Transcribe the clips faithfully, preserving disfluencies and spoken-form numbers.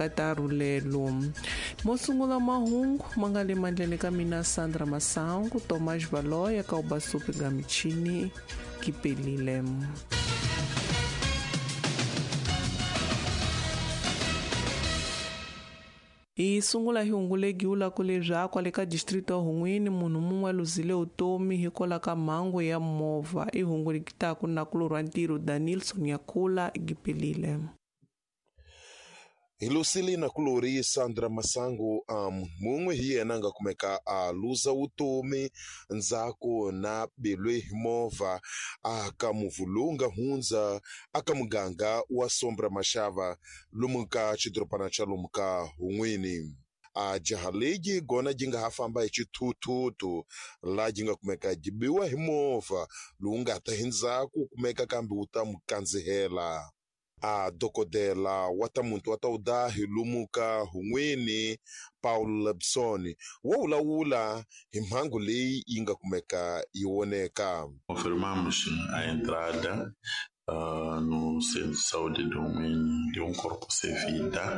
Ka ta rhulelo mo sungula mahungu ma nga le mandleni ka mina Sandra Masangu, Tomas Valoya ka Ubasupi ga michini kipelile. Hi sungula hi hungu legiula ku leswaku kwale ka distrito ya Hun'wini munhu mun'we a luzile vutomi hikwalaho ka mhangu ya movha. I hungu likitaku na kulorwa ntirho Danilson Yakula gipelile. Hi lusile na kulori Sandra Masangu um mun'we hi yena nga kumeka a luza vutomi ndzhaku na belwe hi movha a ka muvu lowu nga hundza aka muganga wa Sombra Mashava lomu ka xidorobana xa lomu ka Hun'wini. A jaha leyi gona ji nga ha famba hi xithuthuthu laha ji nga kumeka ji biwa hi movha lowu nga ta hi ndzhaku kumeka kambe wu ta mu kandzihela. A dokodela wa ta muntu wa ta udahi lomu ka Hun'wini Paul Lebson wo vulavula hi mhangu leyi yi nga kumeka yi voneka. Confirmamos a entrada uh, no Centro de Saúde do Hun'wini de um corpo sem vida,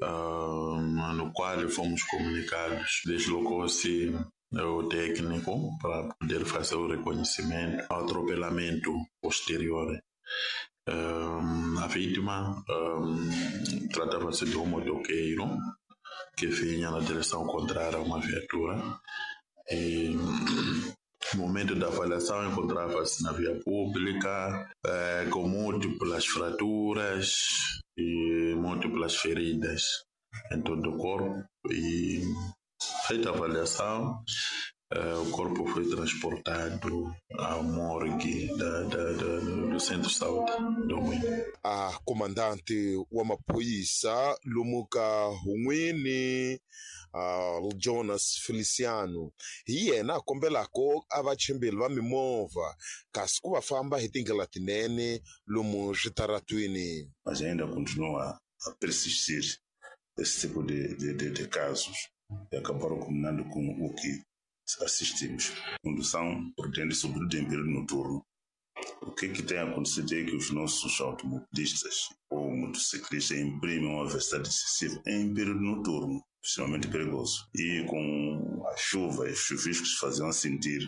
uh, no qual fomos comunicados. Deslocou-se o técnico para poder fazer o reconhecimento ao atropelamento posterior. Um, a vítima um, tratava-se de um motoqueiro que vinha na direção contrária a uma viatura e no momento da avaliação encontrava-se na via pública eh, com múltiplas fraturas e múltiplas feridas em todo o corpo e feita a avaliação Uh, o corpo foi transportado à morgue da, da, da, do Centro de Saúde do Hun'wini. A comandante wa maphorisa lomu ka Hun'wini uh, Jonas Feliciano hi yena a kombelako a vachimbeli va mimovha kasi ku va famba hi tindlela tinene lomu switaratwini. Mas ainda continua a persistir esse tipo de, de, de, de casos e acabaram culminando com o que assistimos. Condução prudente, sobretudo em período noturno. O que, que tem acontecido é que os nossos automobilistas ou motociclistas imprimem uma velocidade excessiva em período noturno, extremamente perigoso. E com a chuva e os chuviscos faziam sentir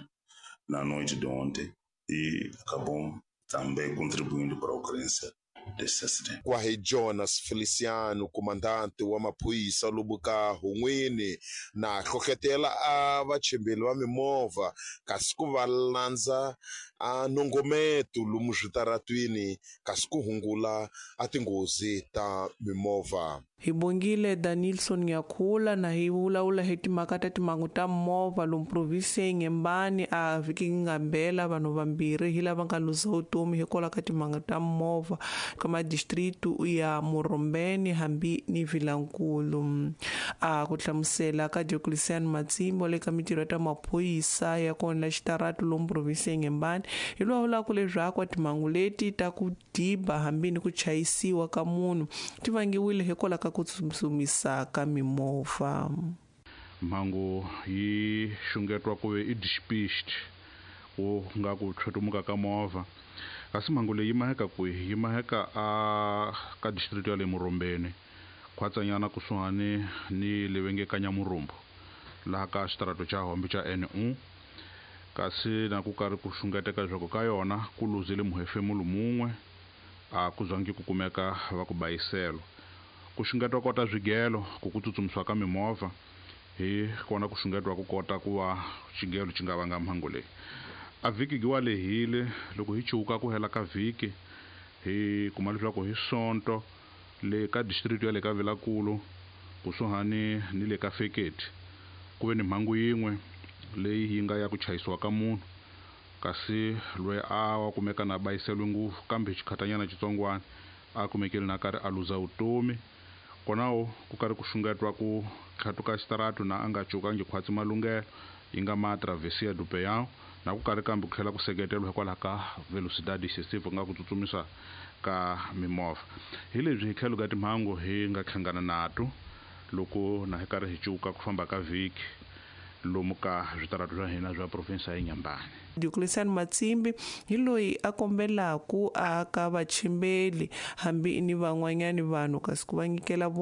na noite de ontem e acabou também contribuindo para a ocorrência desse acidente. Kwahe Jonas Feliciano, comandante wa maphorisa lomu ka Hun'wini na hlohlotela a vachimbeli va mimovha kasi ku va landza a nongometo lomu switaratwini kasi ku hungula a tinghozi ta mimovha. Hi bongile Danilson Yakula na hi vulavula hi timhaka ta timhangu ta movha lomu provinsi ya Inhambane a vhiki nga mbela vanhu vambirhi hi lava nga luza vutomi hikwalaho ka timhangu ta movha ka madistritu ya Morombeni hambi ni Vilankulu. A ku hlamusela ka Dioclecian Matsimbo le ka mitirho ta maphorisa ya kona la xitaratu lomu provinsi ya Inhambane hi vulavula leswaku timhangu leti ta ku diba hambi ni ku chayisiwa ka munhu ti vangiwile hikwalaho ka ku tsutsumisa ka mimovha. Mhangu yi xungetiwa ku ve i despiste ku nga ku tlhotumuka ka movha kasi mhangu leyi yi maheka kwihi? Yi maheka a ka district ya le Morombeni khwatsanyana kusuhani ni le va nge ka Nyamurumbu laha ka xitarato xa Hombe xa N U kasi na ku karhi ku xungeteka leswaku ka yona ku luzile muhefemulo mun'we a ku zangi ku kumeka va ku bayiselo. Ku xungetiwa kota swigelo ku ku tsutsumisiwa ka mimovha hi kona ku xungetiwa ku kota ku va xigelo xi nga vanga mhangu leyi. A vhiki giwa lehile loko hi chuka ku hela ka vhiki hi kuma leswaku hi Sonto le ka district ya le ka Vilankulu kusuhani ni le ka Feketi ku ve ni mhangu yin'we leyi yi nga ya ku chayisiwa ka munhu kasi loyi a wa kumeka na bayiseliwe ngopfu kambe xikhatanyana xitsongwana a kumekile na karhi a luza vutomi. Konawo ku karhi ku xungetiwa ku tlhatuka xitaratu na a nga cukangi khwatsi malunghelo yi nga ma travesia do Peão na ku karhi kambe ku tlhela ku seketeriwa hikwalaho ka velocidade excessive ku nga ku tsutsumisa ka mimovha. Hi leswi hi tlhelo ka timhangu hi nga hlangana nato loko na hi karhi hi cuka ku famba ka vhiki lomu ka switaratu swa hina swa provinsi ya Inhambane. Dioclecian Matsimbi hi loyi a kombelaku a ka vachimbeli hambi ni van'wanyani vanhu kasi ku va nyikela